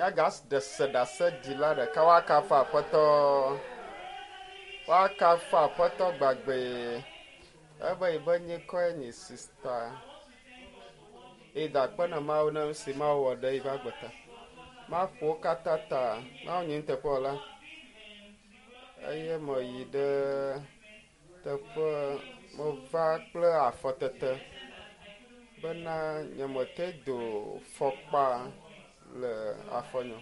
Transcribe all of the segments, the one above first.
Míagaɖe se ɖaseɖila ɖeka woakafu Aƒetɔ. Woakafu Aƒetɔ gbagbee. Ebe yi be nyikɔe nyi sista. Eda akpe na Mawu ne nu si Mawu wɔ ɖe yiƒe agbe ta. Maƒo wo katã ta. Mawu nyi nuteƒewɔla. Eye meyi ɖe teƒe meva kple afɔtete bena nyemete do fɔkpa le afɔnye o.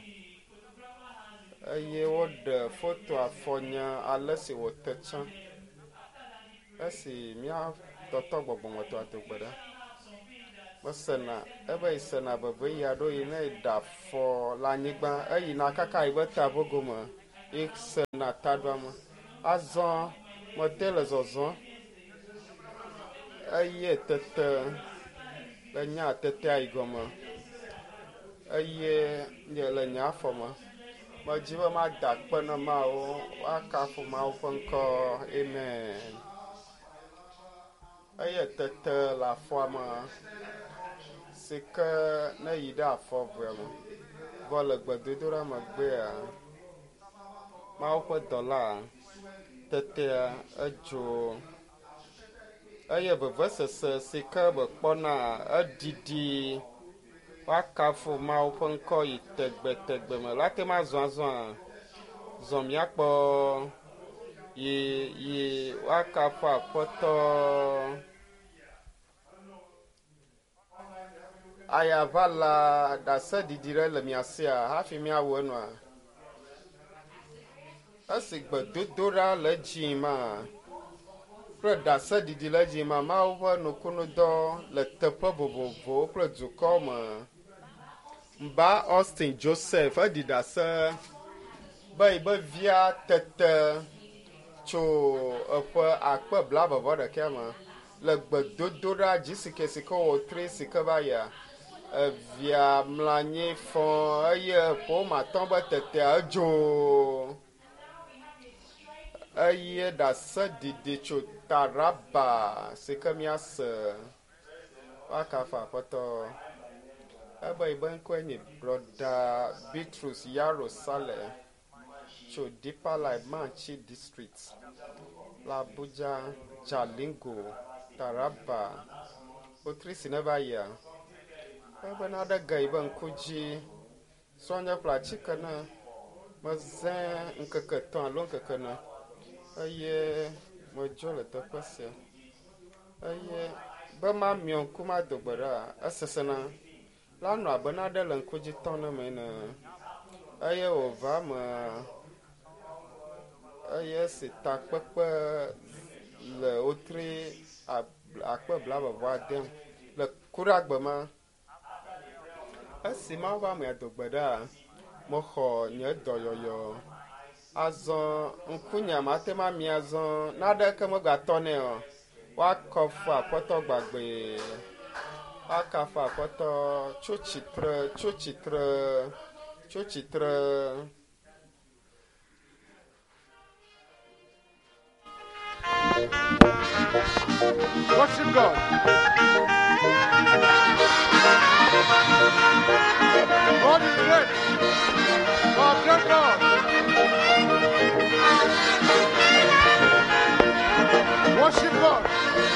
Eye woɖe foto afɔnye ale si wòte tsã. Esi mía tɔtɔ gbɔgbɔmetɔa do gbe ɖa. Mesena ebe yi sena veve ɣi aɖewo yi ne eɖe afɔ le anyigba eyina kaka yi be taʋogome yi sena taɖuame. Azɔ mete le zɔzɔm eye tete le nye tetea yi gɔme eye nye le nye afɔ me. Medzi be mada akpe na Mawu, woakafu Mawu ƒe ŋkɔ. Amen. Eye tete le afɔa me si ke ne yi ɖe afɔ evea me. Vɔ le gbedodoɖa megbea, Mawu ƒe dɔla tetea edzo eye vevesese si ke mekpɔna eɖiɖi woakafu Mawu ƒe ŋkɔ yi tegbetegbe me. La te ma zɔ azɔa, zɔ míakpɔ yi yi woakafu Aƒetɔ. Ayaʋala ɖaseɖiɖi ɖe le mia sia hafi míawu enua. Esi gbedodoɖa le edzi ma kple ɖaseɖiɖi le edzi ma, Mawu ƒe nukunudɔ le teƒe vovovowo kple dukɔ me. Mba Austin Joseph eɖi ɖase be yi be via tete tso eƒe akpe blaeve-vɔ-ɖekɛ me le gbedodoɖa dzi si ke si ke wòtri si ke va yia evia mlɔ anyi fɔ eye ƒome atɔ̃ be tetea edzo eye ɖaseɖiɖi tso Taraba si ke míase woakafu Aƒetɔ. Ebe yi be ŋkɔe nye Brɔda Bitrus Yaro Saleh tso Deeper Life Manchi District le Abuja, Jalingo, Taraba. Wotri si ne va yia, ebe naɖe ge yi be ŋku dzi. Srɔ̃nye ƒle atike ne mezẽ ŋkeke etɔ̃ alo ŋkeke ene eye medzo le teƒe sia. Eye be mamiɔ ŋku mado gbe ɖa esesẽna. La nɔ abe naɖe le ŋku dzi tɔm ne me ene eye wòva me eye esi takpekpe le wotri akpe blaeve-vɔ-ade le kuɖagbe ma. Esi Mawu ƒe amea do gbe ɖa, mexɔ nye dɔyɔyɔ. Azɔ ŋkunye mate ŋu amia azɔ naɖeke megatɔ nɛ o. Woakafu Aƒetɔ gbagbee. Woakafu Aƒetɔ tso tsitre, tso tsitre, tso tsitre. Worship God. God is great. God, great God. Worship God.